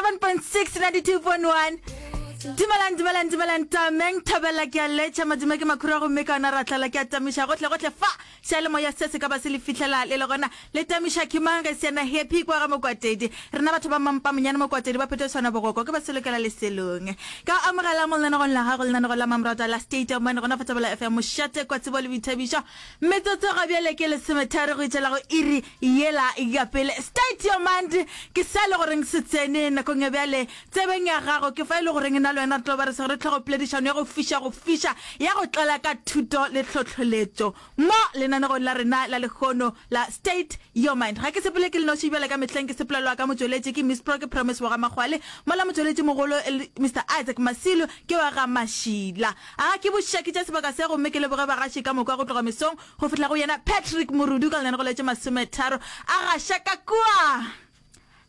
107.6 92.1 Dumelang, dumelang, dumelang, tameng thabela ke a letša maduma ke makhura gomme ka ona ra tlala ke a tamiša gohle gohle fa seyalemoya se se ka ba se le fihlela le le gona le tamiša ke mang ge se yena happy kwa ga mokwatedi rena batho ba mampa monyane mokwatedi ba phetho tshwana bogoko ke ba selokela leselong ka amogela mo lenanegong la gago lenanego la mamrata la state of mind gona fa Thobela FM mošate kwa tsebo le boithabišo Metsotso ga bjale ke lesometharo go itšela go iri yela ya pele. State your mind ke sa le goreng se tsene nakong ya bjale tsebeng ya gago. Ke fa e le goreng nna le wena re tlo ba re swere tlhogopoledišano ya go fiša go fiša ya go tlala ka thuto le tlhohloletšo mo lenanegong la rena la lehono la State your mind. Ga ke sepele ke le noši bjale ka mehleng ke sepelelwa ka motšweletši ke Miss Pro ke Promise wa ga Makgwale mola motšweletši mogolo e le Mister Isaac Masilu ke wa ga Mašila. A ke bošakitše sebaka se gomme ke leboge bagaši ka moka go tloga mesong go fihla go yena Patrick Morudu ka lenanego la tše masometharo a gaša ka kua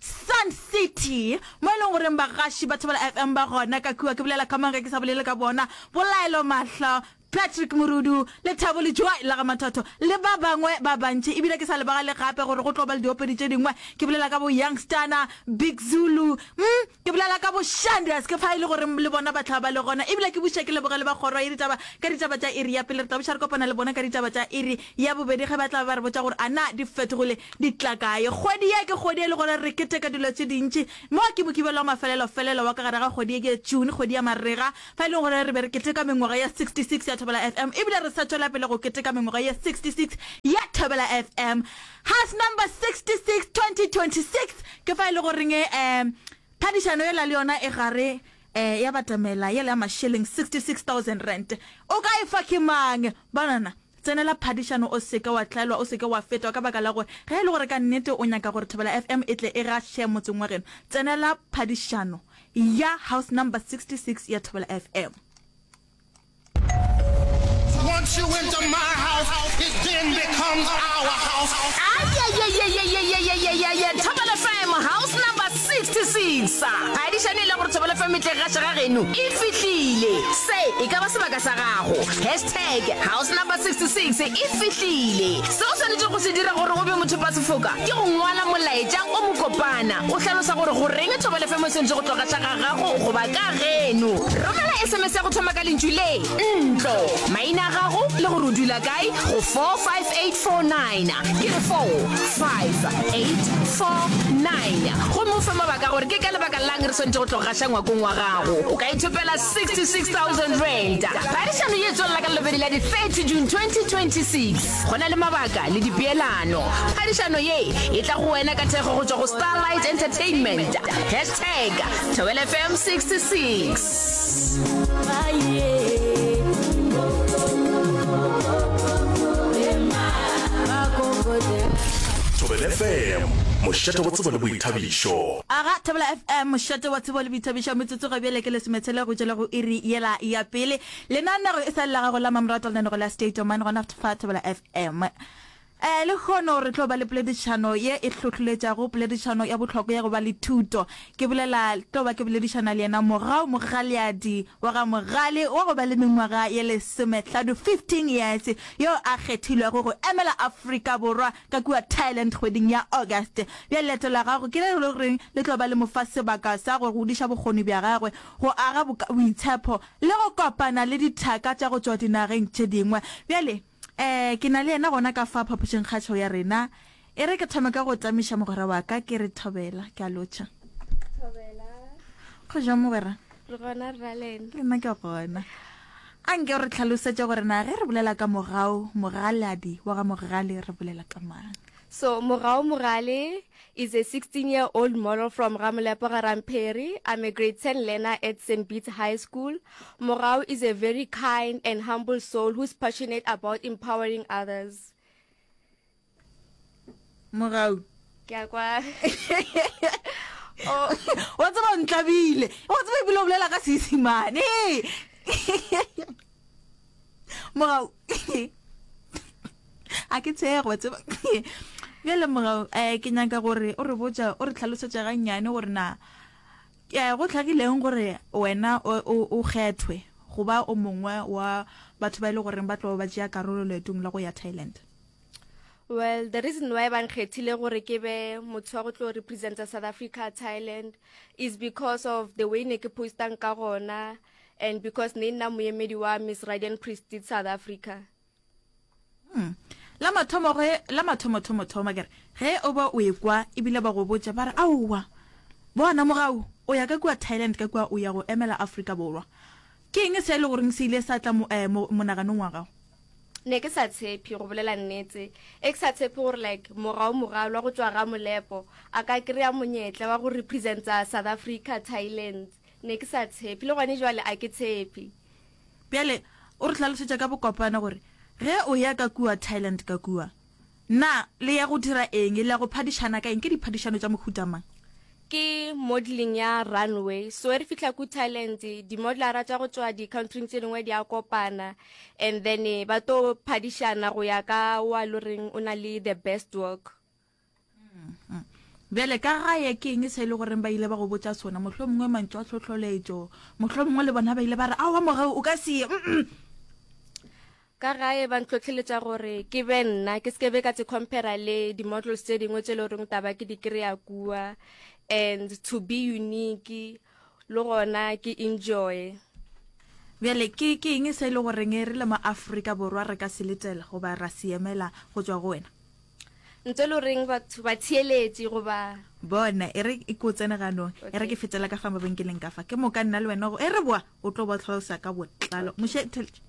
Sun City mo e leng goreng bagaši ba Thobela FM ba gona ka kua. Ke bolela ka mang ge ke sa bolele ka bona? Bolaelo Mahlo, Patrick Morudu, Lethabo Lejoe la ga Mathotho le ba bangwe ba bantši. Ebile ke sa lebagale gape gore go tlo ba le diopedi tše dingwe. Ke bolela ka bo Youngstana, Big Zulu, mm, Ke bolela ka bo Shanders, ke fa e le gore le bona ba tla ba le gona. Ebile ke buša ke leboge le ba kgoro ya ditaba ka ditaba tša iri ya pele. Re tla buša re kopana le bona ka ditaba tša iri ya bobedi ge ba tla ba ba re botša gore a na di fetogile di tla kae. Kgwedi ye ke kgwedi e le gore re keteka dilo tše dintši. Mo ke Mokibelo wa mafelelo-felelo wa ka gare ga kgwedi ye ke June, kgwedi ya marega, fa e leng gore re be re keteka mengwaga ya 66 ya Thobela FM. Ebile re sa tšwela pele go keteka mengwaga ye 66 ya Thobela FM. House number 66 2026 ke fa e le goreng um phadišano yela le yona e gare um ya batamela yela ya mašeleng 66000 rand o ka e fa ke mang banana tsenela phadišano o seke wa tlaelwa o seke wa fetwa ka baka la gore ge e le gore ka nnete o nyaka gore Thobela FM e tle e gaše motseng wa geno tsenela phadišano ya house number 66 ya Thobela FM. Once you enter my house, it then becomes our house. Ayayayayayayayayaya Thobela FM house number 66. Phadišano e le gore Thobela FM e tle gaša ga geno e fihlile. Se e ka ba sebaka sa gago. Hashtag house number 66 e fihlile. Se o swanetšego go se dira gore o be mothopasefoka ke go ngwala molaetša o mokopana o hlalosa gore goreng Thobela FM e swanetše go tlo gaša ga gago goba ka geno. Romela SMS ya go thoma ka lentšu le, ntlo, maina a gago le gore o dula kae go 45849. Ke re 45849. Gomme o fe mabaka a gore ke ka lebaka la'ng re swanetše go tlo gaša ngwakong wa gago. O ka ithopela R66,000. Phadišano ye e tswelela ka Lelobedi la di 30 June 2026. Go na le mabaka le dipeelano. Phadišano ye e tla go wena ka thekgo go tšwa go Starlight Entertainment. Hashtag Thobela FM 66. Thobela FM, mošate wa tsebo le boithabišo. Aga, Thobela FM, mošate wa tsebo le boithabišo, metsotso ga bjale ke lesometshela go tšwela go iri yela ya pele. Lenanego e sa le la gago la mamoratwa lenanego la State of Mind gona fa Thobela FM. Eh, lehono re tlo ba le poledišano ye e hlohloletšago, poledišano ya bohlokwa ya go ba le thuto. Ke bolela, tlo ba ke boledišana le yena Mogau Mogaleadi wa ga Mogale wa go ba le mengwaga ye lesomehlano, 15 years, yo a kgethilwego go emela Afrika Borwa ka kua Thailand kgweding ya August. Bjale leeto la gagwe ke le le goreng le tlo ba le mo fa sebaka sa go godiša bokgoni bja gagwe, go aga boitshepo le go kopana le dithaka tša go tšwa dinageng tše dingwe. Bjale Eh, ke na le yena gona ka fa phapošingkgašo ya rena. E re ke thome ka go tamiša mogwera wa ka, ke re thobela, ke a lotšha. Thobela. Go jang mogwera? Re gona rra lena. Le nna ke gona. A nke o re tlhalosetše gore na ge re bolela ka Mogau Mogaladi wa ga Mogale re bolela ka mang? So Mogau Mogale is a 16 year old model from Ramolepo ga Ramperi. I'm a grade 10 learner at St. Bede's High School. Mogau is a very kind and humble soul who's passionate about empowering others. Mogau. Ke a kwa. Oh. Wa tseba o ntlabile. Wa tseba ebile o bolela ka Seisimane. Mogau. A ke tshego wa tseba. Bjale Mogau, eh ke nyaka gore o re botša, o re tlhalosetša gannyane gore na eh go hlagileng gore wena o o o kgethwe go ba o mongwe wa batho ba e le goreng ba tlo ba tšea karolo leetong la go ya Thailand. Well, the reason why ba nkgethile gore ke be motho wa go tlo representa South Africa, Thailand is because of the way ne ke postang ka gona and because ne nna moemedi wa Miss Radiant Prestige South Africa. Hmm. La mathomo ge la mathomo thomo thoma ke re ge o ba o ekwa ebile ba go botša ba re aowa bona mogau o ya ka kua Thailand ka kua o ya go emela Afrika Borwa. Ke eng se e le goreng se ile sa tla mo, eh, mo, monaganong wa gago? Ne ke sa tshepe go bolela nnete e ke sa tshepe gore like mogau mogalwa go tšwa ga molepo a ka kry-a monyetla wa go representa South Africa Thailand ne ke sa tshepe le gone jwale a ke tshepe. Bjale o re hlalosetša ka bokopana gore ge o ya ka kua Thailand ka kua na le ya go dira eng le ya go phadišana ka eng ke diphadišano tša mohuta mang? Ke modelling ya runway. So ge re fihla ku Thailand, di-modelara tša go tšwa di-countryng tše dingwe di a kopana and then ba tlo phadišana go ya ka wa lo reng o na le the best work. Bjale ka gae ke eng se e le goreng ba ile ba go botša sona? Mohlomongwe mantšu a tlhohloletšo, mohlomongwe le bona ba ile ba re aowa mogau o ka se ye. Mm-mm. Ka gae ba ntlhohleletša gore ke be nna, ke se ke be ka tse compare le di-models tše dingwe tše le goreng taba ke di kry-a kua and to be unique le gona ke enjoy. Bjale ke ke eng se e le goreng re le mo Afrika Borwa re ka se letela goba ra se emela go tšwa go wena? Ntho e le goreng batho ba theeletše goba. Bona, e re ke o tsene ganong, e re ke fetela ka fa mabenkeleng ka fa, ke moka nna le wena e re boa o tlo ba tlhalosa ka botlalo. Moshe, theletše.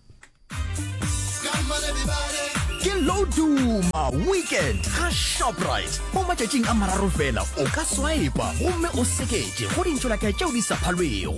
Ke Loduma Weekend ga Shoprite. Mo matšatšing a mararo fela o ka swipa gomme o seketše go dintšolaka tšeo di sa phalwego.